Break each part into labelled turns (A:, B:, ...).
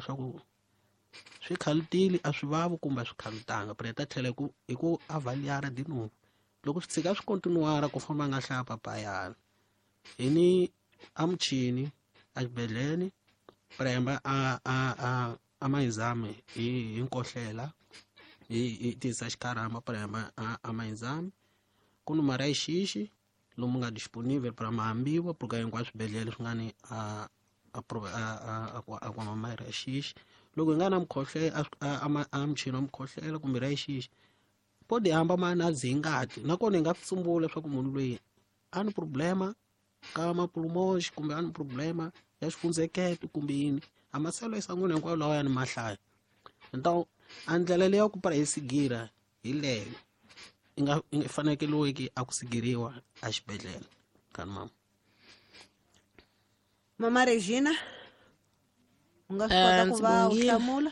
A: swa ku swi khalutile a swi vavi kumbe a swi khalutanga pero hi ta tlhela hi ku avaliara de novo loko swi tshika swi kontinuara ku famba nga hlaya papayana hi ni a muchini a xibedhlele premba a a a a mayizami hi hi nkohlela hi hi tisa xikarama premba a a mayizami ku ni mara xixi lomu nga disponível para mahambiwa porque hinkwaswo swibedhlele swi nga ni a a a a a mara xixi loko hi nga na mukhohlela a a muchini wa mukhohlela kumbe ra xixi pode hamba ma na dzi ngati nakona hi nga swi tsumbula leswaku munhu loyi a ni problema ka mapulmoxi kumbe a ni problema ya xifundzekete kumbe yini a maselo esangwini hinkwayo lawa ya ni mahlaya então a ndlela leyi ya ku para hi sigira hi leyo i nga i fanekeliweki a ku sigiriwa a xibedhlele kani mama.
B: Mama Regina u nga swi kota ku
C: Ndzi
B: va u
C: bongile.
B: hlamula?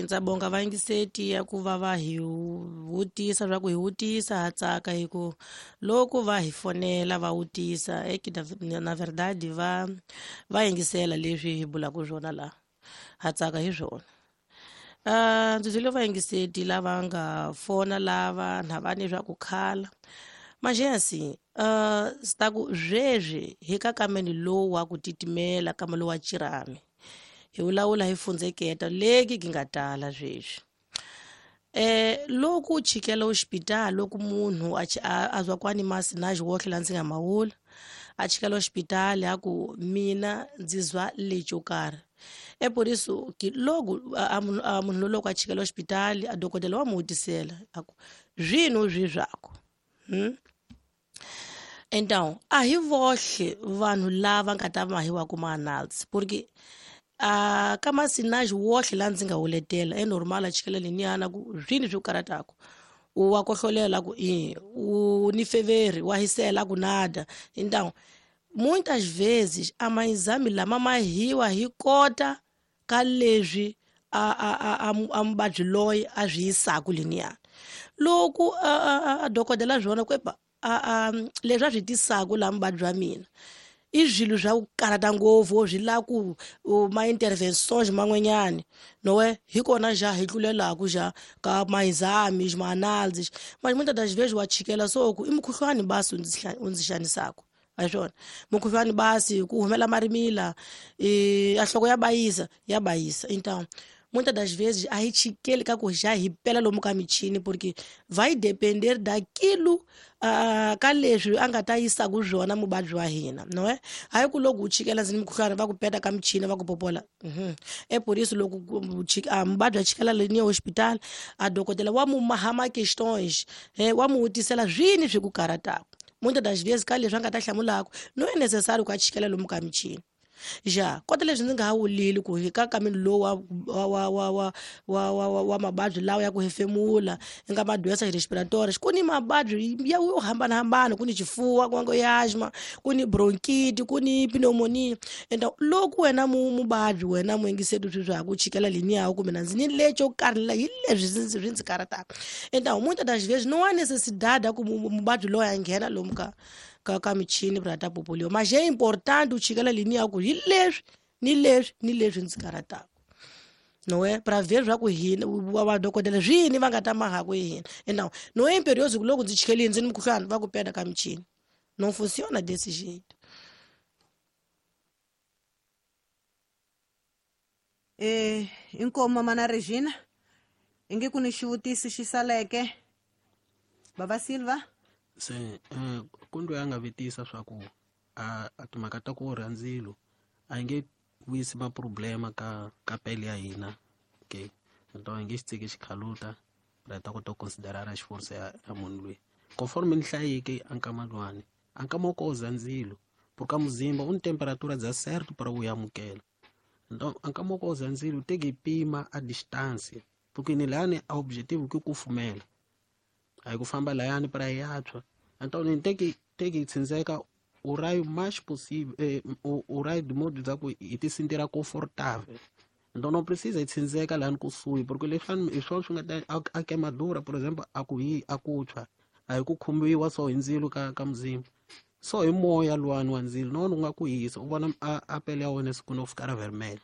C: Ndza bonga vayingiseti ya ku va va hi vutisa swa ku hi vutisa ha tsaka hi ku loko va hi fonela va vutisa eke na verdade va va yingisela leswi hi bulaka swona laha ha tsaka hi swona. Ndzi byele vayingiseti lava nga fona lava na va ni swa ku khala manjesi swi ku sweswi hi ka kameni lowu wa ku titimela kama lowu wa chirami hi vulavula hi fundzeketa leki ki nga tala sweswi. Loko u chikela hospital loko munhu a a zwa kwani masinaji wohle la ndzi nga mawula a chikela hospital a ku mina ndzi zwa lexo karhi e por isso que logo a munhu loko a chikela hospital a dokodela wa mu vutisela a ku zwino zwi zwako Então a hi vohle vanhu lava nga ta mahiwa ku ma-analysis porque a ka masinaji wohle la ndzi nga wuletela e normal a chikela leniyana ku zwini swi ku karhataka u wa kohlolela ku i u ni feveri wa hisela ku nada. Então muitas vezes a maexame lama mahiwa hi kota ka leswi a a a a muvabyi loyi a swi yisaka leniyana loko a dokodela swona ku epa a a leswi a swi tisaka laha muvabyi wa mina i swilo swa ku karhata ngopfu swi lava ku ma-interventions man'wanyani nowe hi kona ja hi tlulelaku ja ka ma-exame ma-analysis manje muitas das vezes wa chikela so ku i mukhuhlwani basi u ndzi xanisaka a hi swona mukhuhlwani basi ku humela marimila a nhloko ya bayisa ya bayisa. Então muitas das vezes a hi chikeli ka ku ja hi pela lomu ka michini porque vai depender daquilo ka leswi a nga ta yisaku swona muvabyi wa hina no hayi ku loko u chikela ndzi ni mukhuhlwani va ku peta ka michini va ku popola. E por isso loko muvabyi a chikela leniya hospital a dokodela wa mu maha ma-questões wa mu vutisela swini swi ku karhataka muitas das vezes ka leswi a nga ta hlamulaka no é necessário ku a chikela lomu ka michini ja kota leswi ndzi nga ha wulili ku hi ka kameni lowu wa wa wa wa wa wa wa wa mavabyi lawa ya ku hefemula i nga madoença respiratórias ku ni mavabyi ya yo hambanahambana ku ni xifuva ku nga asma ku ni bronchite ku ni pneumonia. Ende loko wena muvabyi wena muyingiseri swi swa ku chikela leniya kumbe na ndzi ni lexo karhi la hi leswi swi ndzi karhataka. Então muitas das vezes não há necessidade ya ku muvabyi loyi a nghena lomu ka ka ka michini pra ta popoliwa mas é importante u chikela leniya ku hi leswi ni leswi ni leswi ndzi karhataka não é para ver swa ku hina vadokodela swini va nga ta mahaku hi hina. Então não é imperioso ku loko ndzi chikelile ndzi ni mukhuhlwani va ku peta ka michini não funciona desse jeito.
B: Inkomu mama na Regina inge ku ni xivutiso xi saleke baba Silva
A: se ku ya nga vutisa swa ku a timhaka ta ku orha ndzilo a yi nge vuyisi ma-problema ka ka pele ya hina okay então hi nge xi tshiki xikhaluta ra ta kota ku considerara xiforisa ya munhu loyi conforme ni hlayeke a nkama luwani a nkama wo koza ndzilo porque a muzimba u ni temperatura dza certo para u amukela então a nkama wo koza ndzilo te ki pima a distância porque ni lani a objetivo ke kufumela a hi ku famba layani para ya tshwa então ni teki teki tsindzeka o raio mais possível o raio de modo dza ku hi ti sentira confortável então não precisa hi tsindzeka lani kusuhi porque leswi hi swona swi nga ta a queimadura por exemplo a ku hi a ku tshwa a hi ku khumbiwa so hi ndzilo ka ka muzimba so hi moya luwani wa ndzilo na wona wu nga ku hisa u vona a pele ya wena siku no fika ra vermelho.